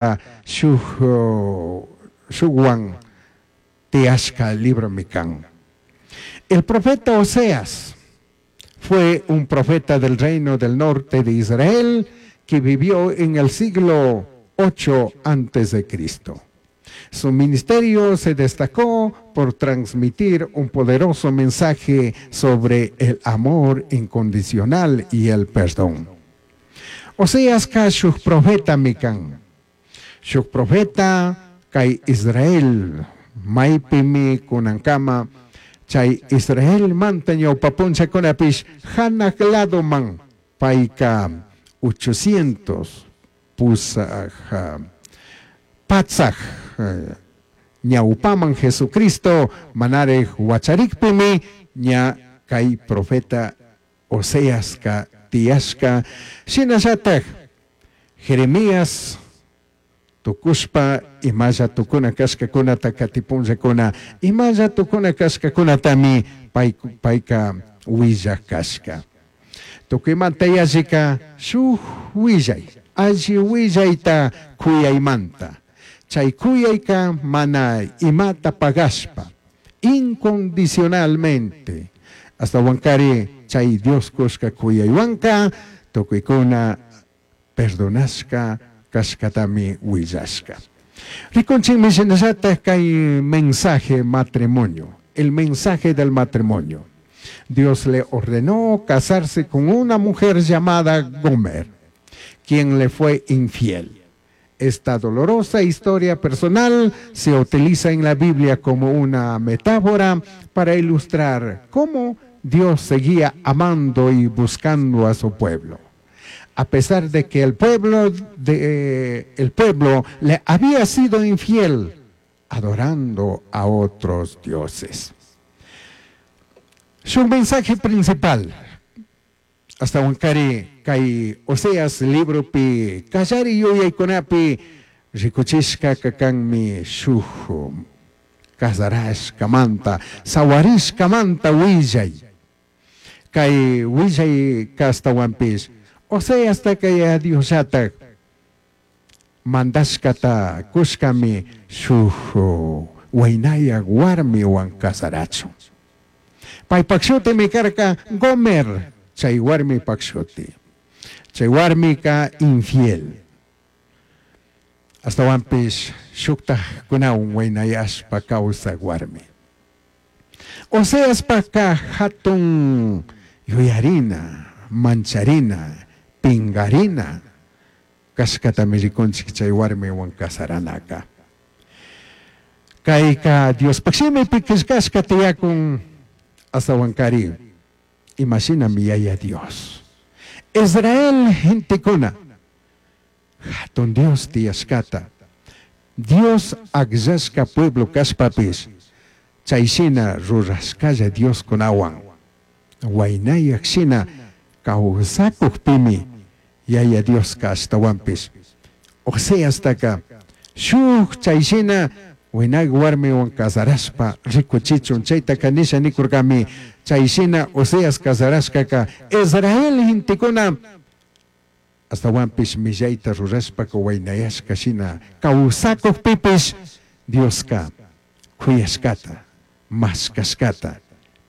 Shuj shujwan tiyashka libromi kan. El profeta Oseas fue un profeta del reino del norte de Israel que vivió en el siglo 8 antes de Cristo. Su ministerio se destacó por transmitir un poderoso mensaje sobre el amor incondicional y el perdón. Oseasca shuj profetami kan. Shuj profeta kay Israel maypimi kunankama chay Israelmanta ñawpa punllakunapish hanaq ladoman payka 800 pusaj patsaj ñawpaman Jesucristo manarej wacharikpimi ña kay profeta Oseaska tiyashka. Shinallataj Jeremías tukushpa imalla tukuna kashkakunata katipunllakuna imalla tukuna kashkakunatami pay payka willaj kashka. Tukuymanta yallika shuk willay alli willayta kuyaymanta chay kuyayka mana imata pagashpa incondicionalmente astawankari chay Dios kushka kuyaywanka tukuykuna perdonashka kashkatami willashka. Rikunchikmi shinallataj kay mensaje matrimonio, el mensaje del matrimonio. Dios le ordenó casarse con una mujer llamada Gomer, quien le fue infiel. Esta dolorosa historia personal se utiliza en la Biblia como una metáfora para ilustrar cómo Dios seguía amando y buscando a su pueblo. A pesar de que el pueblo le había sido infiel, adorando a otros dioses. Su mensaje principal, astawankari kay Oseas libropi kallari yuyaykunapi rikuchishka kanmi shuk kasarashkamanta sawarishkamanta willay. Kay willay kastawanpish Oseastaka ya Diosllatak mandashkata kushkami shuk waynayak warmiwan kasarachun. Paypak shutimi karka Gomer, chay warmipak shuti. Chay warmika infiel. Astawanpish shuktajkunawan waynayashpa kawsak warmi. Oseaspaka hatun yuyarina, mancharina, pingarina kashkatami rikunchik chay warmiwan kasaranaka. Kayka Diospaq shimipi qillqashka tiyakun astawankari imashinami Yaya Dios. Israel gentekuna hatun Dios tiyashkata, Dios akllashka pueblo kashpapish chayshina rurashkalla Dioskunawan waynayak shina kawsakukpimi Yaya Dioska ashtawanpish Oseastaka shuk chayshina waynak warmiwan kasarashpa rikuchichun chaytaka nisha nikurkami chayshina Oseas kasarashkaka Israel gentekuna astawanpish millayta rurashpaka waynayashka shina kawsakukpipish Dioska kuyashkata mashkashkata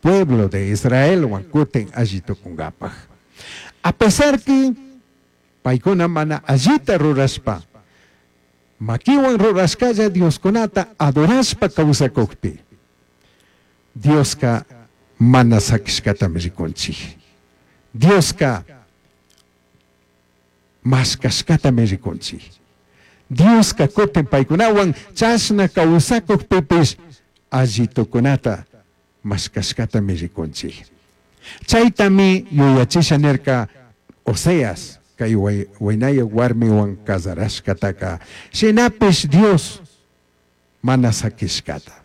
pueblo de Israelwan kutin alli tukunkapaj. A pesar que paykuna mana allita rurashpa makiwan rurashkalla Dioskunata adorashpa kawsakukpi Dioska mana sakishkatami rikunchik. Dioska mashkashkatami rikunchik. Dioska kutin paykunawan chashna kawsakukpipish alli tukunata mashkashkatami rikunchik. Chaytami yuyachisha nirka Oseas kay waynayak warmiwan kasarashkataka shinapish Dios mana sakishkata.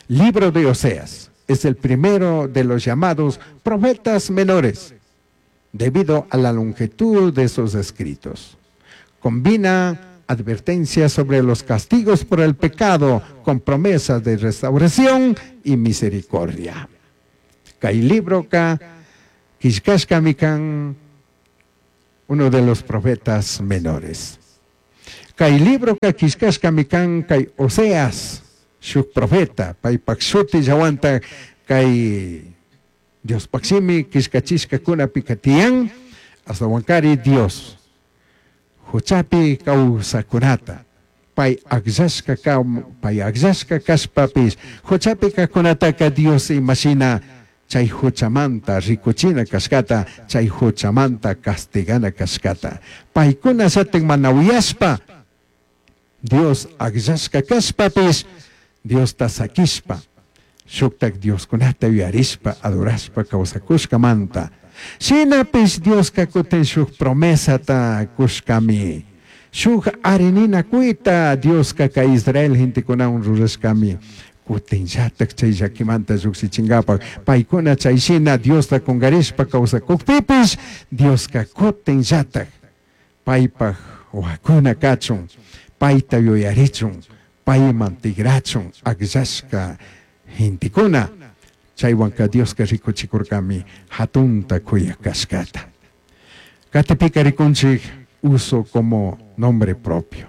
Libro de Oseas es el primero de los llamados profetas menores, debido a la longitud de sus escritos. Combina advertencias sobre los castigos por el pecado con promesas de restauración y misericordia. Kay libroka qillqashkami kan uno de los profetas menores. Kay libroka killkashkami kan kay Oseas shuk profeta paypak shutillawantak kay Diospaj shimi killkachishkakunapika tiyan, ashtawankari Dios juchapi kawsakunata pay akllashka pay akllashka kashpapish juchapi kajkunataka Dios imashina chay juchamanta rikuchina kashkata, chay juchamanta castigana kashkata. Paykunallatik mana uyashpa Dios akllashka kashpapish Diosta sakishpa shuktak Dioskunata yuyarishpa adorashpa kawsakushkamanta. Shinapish Dioska kutin shuk promesata kushkami. Shuk arininakuyta Dioska kay Israel gentekunawan rurashkami. Kutinllatak chay llakimanta llujshichinkapak paykuna chay shina Diosta kunkarishpa kawsakukpipish Dioska kutinllatak paypak wawakuna kachun, payta yuyarichun, payman tigrachun akllashka gentekuna. Chaywanka Dioska rikuchikurkami hatunta kuyak kashkata. Katipika rikunchik uso como nombre propio.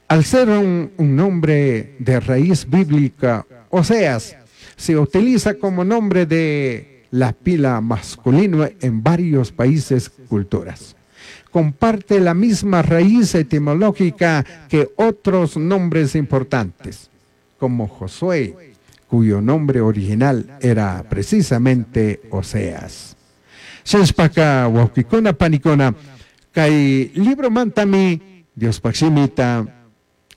Al ser un nombre de raíz bíblica, Oseas se utiliza como nombre de la pila masculino en varios países, culturas. Comparte la misma raíz etimológica que otros nombres importantes, como Josué, cuyo nombre original era precisamente Oseas. Shinashpaka wawkikuna panikuna kay libromantami Diospaj shimita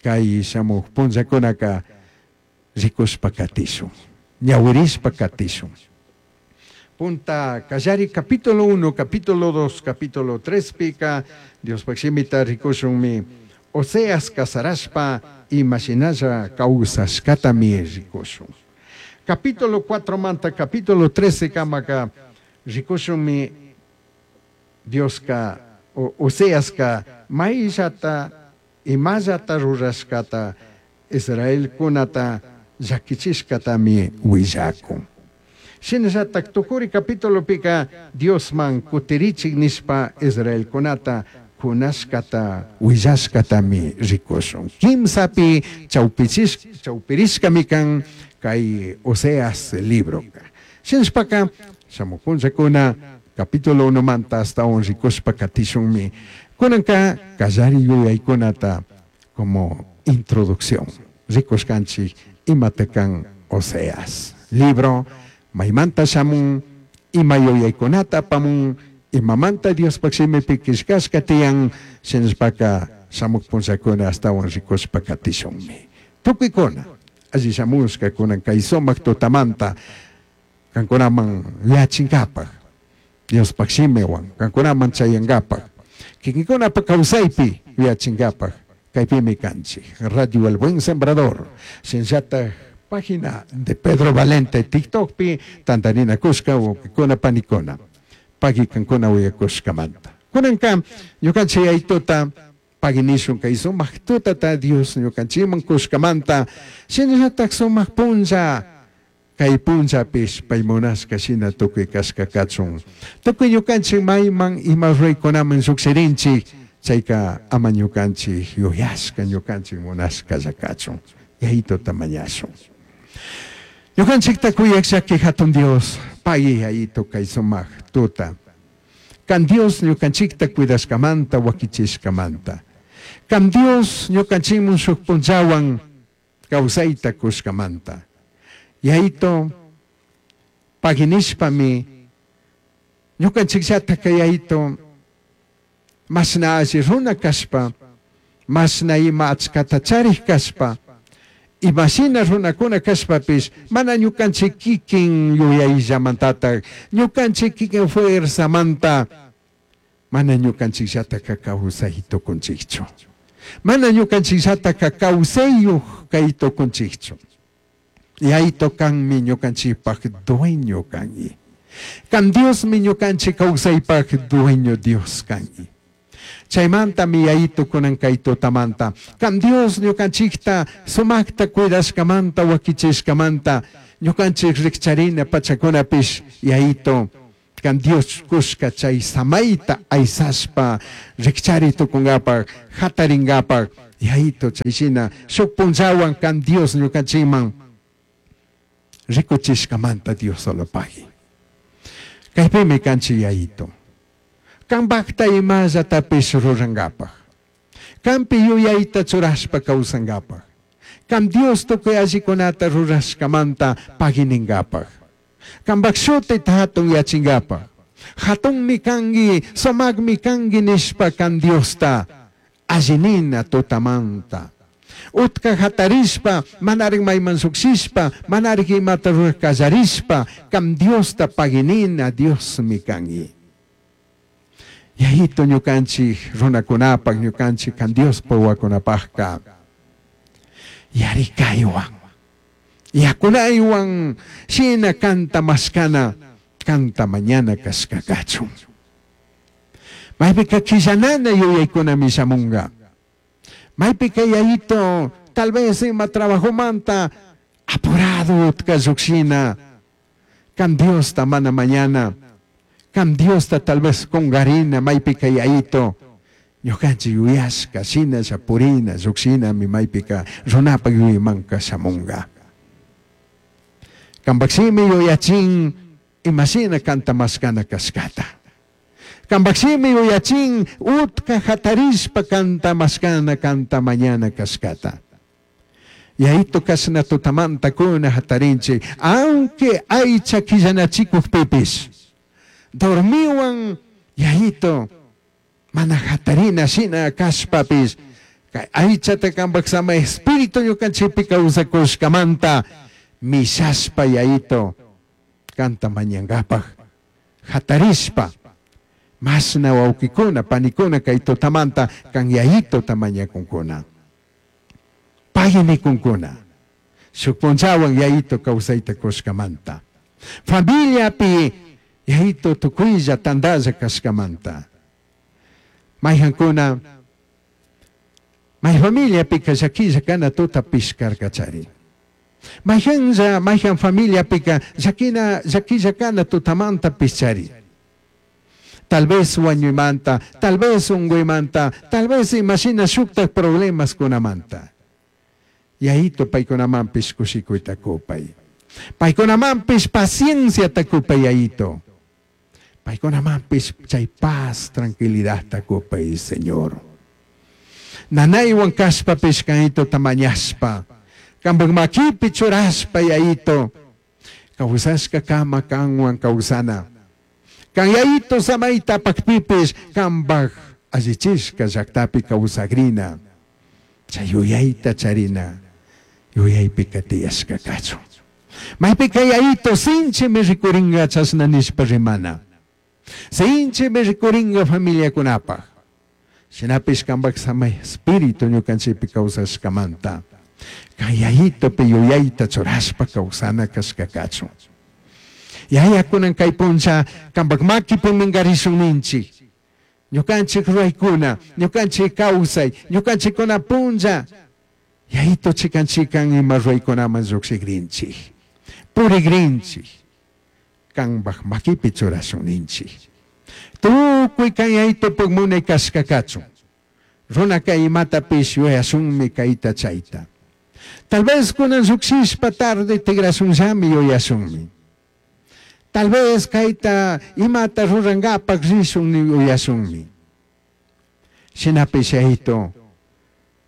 kay shamuj punllakunaka rikushpa katishun, ñawirishpa katishun. Punta kallari capítulo 1, capítulo 2, capítulo 3 pika Diospaj shimita rikushunmi Oseas kasarashpa imashinalla kawsashkatami rikushun. Capítulo 4 manta capítulo 13 kamaka rikushunmi Dioska Oseaska mayllata imallata rurashkata Israelkunata llakichishkatami willakun. Shinallatak tukuri capitulopika Diosman kutirichik nishpa Israelkunata kunashkata willashkatami rikushun. Kimsapi chawpirishkami kan kay Oseas libroka. Shinashpaka shamuj punllakuna capítulo 1 manta ashtawan rikushpa katishunmi. Kunanka kallari yuyaykunata como introducción rikushkanchik imata kan Oseas libro maymanta shamun ima yuyaykunata apamun imamanta Diospaj shimipi killkashka tiyan shinashpaka shamuj punllakuna ashtawan rikushpa katishunmi. Tukuykuna alli shamushka kunan kay sumak tutamanta kankunaman yachinkapak Diospaj shimiwan kankunaman chayankapak kikinkunapak kawsaypi yachinkapak kaypimi kanchik Radio El Buen Sembrador shinallatak página de Pedro Valente TikTokpi tantarinakushka wawkikuna panikuna pagui kankuna uyakushkamanta. Kunanka ñukanchik yaytuta pagui nishun kay sumak tutata Dios ñukanchikman kushkamanta shinallatak sumak punlla kay punllapish pay munashka shina tukuy kashka kachun. Tukuy ñukanchik mayman ima ruraykunaman llukshirinchik chayka ama ñukanchik yuyashka ñukanchik munashkalla kachun. Yaytuta mañashun. Ñukanchikta kuyak llaki hatun Dios pagui yayito kay sumak tuta. Kan Dios ñukanchikta cuidashkamanta wakichishkamanta. Kan Dios ñukanchikmun shuk punllawan kawsayta kushkamanta. Yayito pagui nishpami ñukanchikllata kay yayito mashna alli runa kashpa, mashna ima achkata charik kashpa, imashina runakuna kashpapish mana ñukanchik kikin yuyayllamantatak, ñukanchik kikin fuerzamanta mana ñukanchikllataka kawsay tukunchikchu. Mana ñukanchikllataka kawsayuq kay tukunchikchu. Yayto kanmi ñukanchikpak dueño kanki. Kan Diosmi ñukanchik kawsaypak dueño Dios kanki. Chaymantami yayito kunan kay tutamanta. Kan Dios ñukanchikta sumakta cuidashkamanta wakichishkamanta ñukanchik rikcharina pachakunapish yayito kan Dios kushka chay samayta aysashpa rikchari tukunkapak hatarinkapak Yaito chayshina shuk punllawan kan Dios ñukanchikman rikuchishkamanta Dios solo pagui. Kaypimi kanchik Yaito. Kanpakta imallatapish rurankapak. Kanpi yuyayta churashpa kawsankapak. Kan Dios tukuy allikunata rurashkamanta paguininkapak. Kanpak shutita hatun yachinkapak. Hatunmi kanki, sumakmi kanki nishpa kan Diosta allinina tutamanta. Utka hatarishpa, manarik mayman shukshishpa, manarik imata rurak kallarishpa, kan Diosta paguinina Diosmi kanki. Yayito ñukanchik runakunapak, ñukanchik kan Diospa wawakunapakka yarikaywan, yakunaywan shina kanta mashkana, kanta mañana kashka kachun. Maypika quillanana yuyaykunami shamunga. Maypika yayito tal vez ima trabajomanta apurado utka llukshina, kan Diosta mana mañana, kan Diosta tal vez kungarina maypika yayito ñukanchik yuyashka shinalla purina llukshinami maypika runapak yuyaymanka shamunga. Kanpak shimi yuyachin imashina kanta mashkana kashkata. Kanpak shimi yuyachin utka hatarishpa kanta mashkana kanta mañana kashkata. Yayito kashna tutamanta kuna hatarinchik, aunque aycha quillanachikukpipis, dormiwan yayito mana hatarina shina kashpapis, kay aychata kanpak sama espíritu ñukanchikpi kawsakushkamanta mishashpa yayito kanta mañankapak hatarishpa mashna wawkikuna panikuna kay tutamanta kan yayitota mañakunkuna. Pagui nikunkuna. Shuk punllawan yayito kawsayta kushkamanta. Familiapi yayito tukuylla tantalla kashkamanta. Mayhankuna may familiapika llakilla kana tuta pishkarkachari. Mayhanlla mayhan familiapika llakina llakilla kana tutamanta pischari. Tal vez wañuymanta, tal vez unguymanta, tal vez imashina shuktak problemas kunamanta. Yayito paykunamanpish kushikuyta kupay. Paykunamanpish pacienciata kupay yayito. Paykunamanpish chay paz, tranquilidadta kupay, Señor. Nanaywan kashpapish kayitota mañashpa, kanpak makipi churashpa yayito, kawsashka kama kanwan kawsana. Kan yayito samayta apakpipish kanpak allichishka llaktapi kawsagrina. Chay yuyayta charina, yuyaypika tiyashka kachun. Maypika yayito sinchimi rikuringa chashna nishpa rimana. Sinchimi rikuringa familiakunapak. Shinapish kanpak samay espíritu ñukanchikpi kawsashkamanta. Kay yayitopi yuyayta churashpa kawsana kashka kachun. Yaya kunan kay puncha kanpak makipi minkarishun ninchik. Ñukanchik ruraykuna, ñukanchik kawsay, ñukanchikkuna punlla. Yayito chikan chikan ima ruraykunaman llukshikrinchik. Purikrinchik. Kanpak makipi churashun ninchik. Tukuy kan yayitopuk munay kashka kachun. Runaka imatapish yuyashunmi kayta chayta. Tal vez kunan llukshishpa tarde tigrashunllami yuyashunmi. Tal vez kayta imata rurankapak rishun yuyashunmi. Shinapish yayito,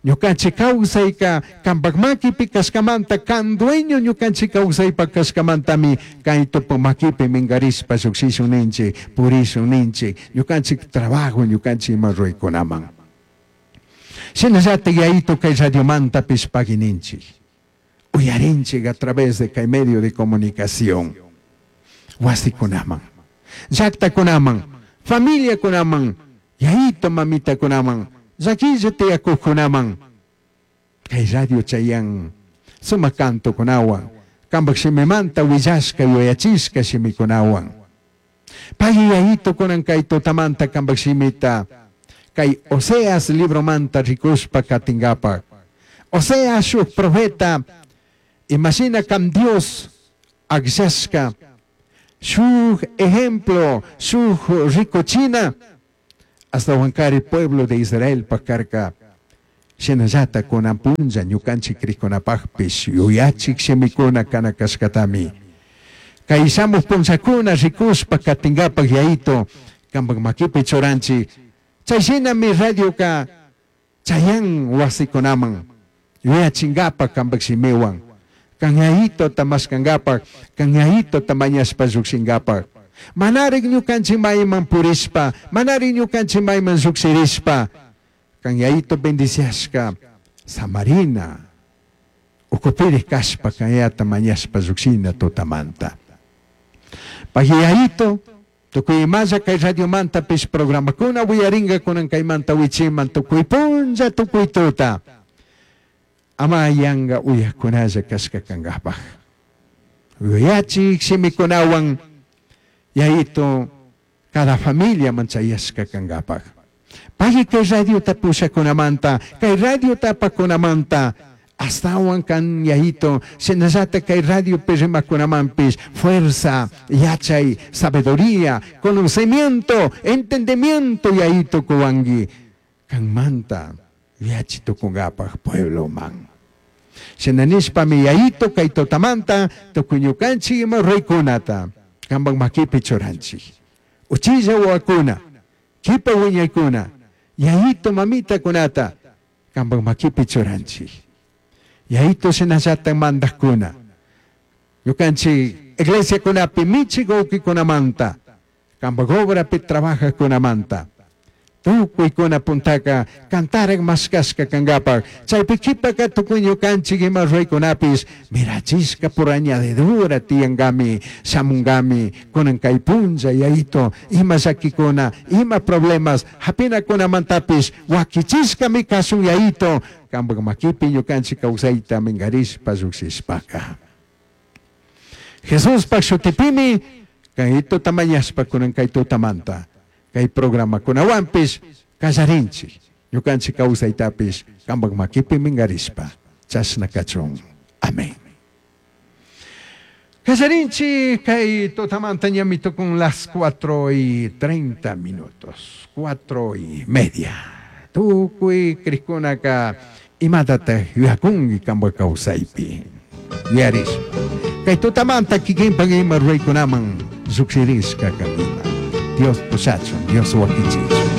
ñukanchik kawsayka kanpak makipi kashkamanta kan dueño ñukanchik kawsaypak kashkamantami kaytupu makipi minkarishpa llukshishun ninchik, purishun ninchik, ñukanchik trabajo ñukanchik ima ruraykunaman. Shinallatik yayito kay radiomantapish pagui ninchik. Uyarinchik a través de kay medio de comunicación. Wasikunaman, llaktakunaman, familiakunaman, yayito mamitakunaman, llakilla tiyakuqkunaman. Kay radio chayan sumak cantokunawan, kanpak shimimanta willashka yuyachishka shimikunawan. Pagui yayito kunan kay tutamanta kanpak shimita, kay Oseas libromanta rikushpa katinkapak. Oseas shuk profeta, imashina kan Dios akllashka, shuk ejemplo, shuk rikuchina, ashtawankari pueblo de Israel pakarka. Shinallata kunan punlla ñukanchik krikunapaqpish yuyachik shimikuna kana kashkatami. Kay shamuq punllakuna rikushpa katinkapak Yayito kampak makipi churanchik. Chay shinami radioka chayan wasikunaman yuyachinkapak kampak shimiwan. Kan Yayitota mashkankapak, kan Yayitota mañashpa llukshinkapak. Manarik ñukanchik mayman purishpa, manarik ñukanchik mayman llukshirishpa, kan Yayito bendiciashka samarina, ukupiri kashpa kan Yayata mañashpa llukshina tutamanta. Pagui Yayito, tukuy imalla kay radiomantapish programakuna wiyarinka kunan kaymanta wichiman tukuy punlla tukuy tuta. Ama yanka uyakunalla kashka kankapak. Yuyachik shimikunawan Yayito cada familia manchayashka kankapak. Pagui kay radiota pushakunamanta, kay radiota apakunamanta, astawan kan Yayito, shinallata kay radiopi rimakunamanpish fuerza, yachay, sabiduría, conocimiento, entendimiento Yayito kuwanki kanmanta yuyachi tukunkapak puebloman. Shina nishpami Yayito kay tutamanta tukuy ñukanchik ima ruraykunata kampak makipi churanchik. Uchilla wawakuna, kipa wiñaykuna, Yayito mamitakunata kampak makipi churanchik. Yayito shinallata mandakuna, ñukanchik iglesiakunapi michik wawkikunamanta, kampak obrapi trabajakunamanta, tukuykuna puntaka kantarak mashkashka kankapak, chaypi kipaka tukuy ñukanchik ima ruraykunapis mirachishka por añadidura tiyankami, shamunkami, kunan kay punlla Yayito, ima llakikuna, ima problemas hapinakunamantapis wakichishkami kashun Yayito, kampak makipi ñukanchik kawsayta minkarishpa llukshishpaka. Jesuspak shutipimi kay tutamañashpa kunan kay tutamanta, kay programakunawanpish kallarinchik, ñukanchik kawsaytapish kampak makipi minkarishpa, chashna kachun. Amén. Kallarinchik kay tutamanta ñami tukun las 4:30 minutos, 4:30. Tukuy krikunaka imatataq yuyakunki kampak kawsaypi. Yuyarishpa. Kay tutamanta kikinpak ima ruraykunaman llukshirishka kanima. Dios pushachun, Dios wakichichun.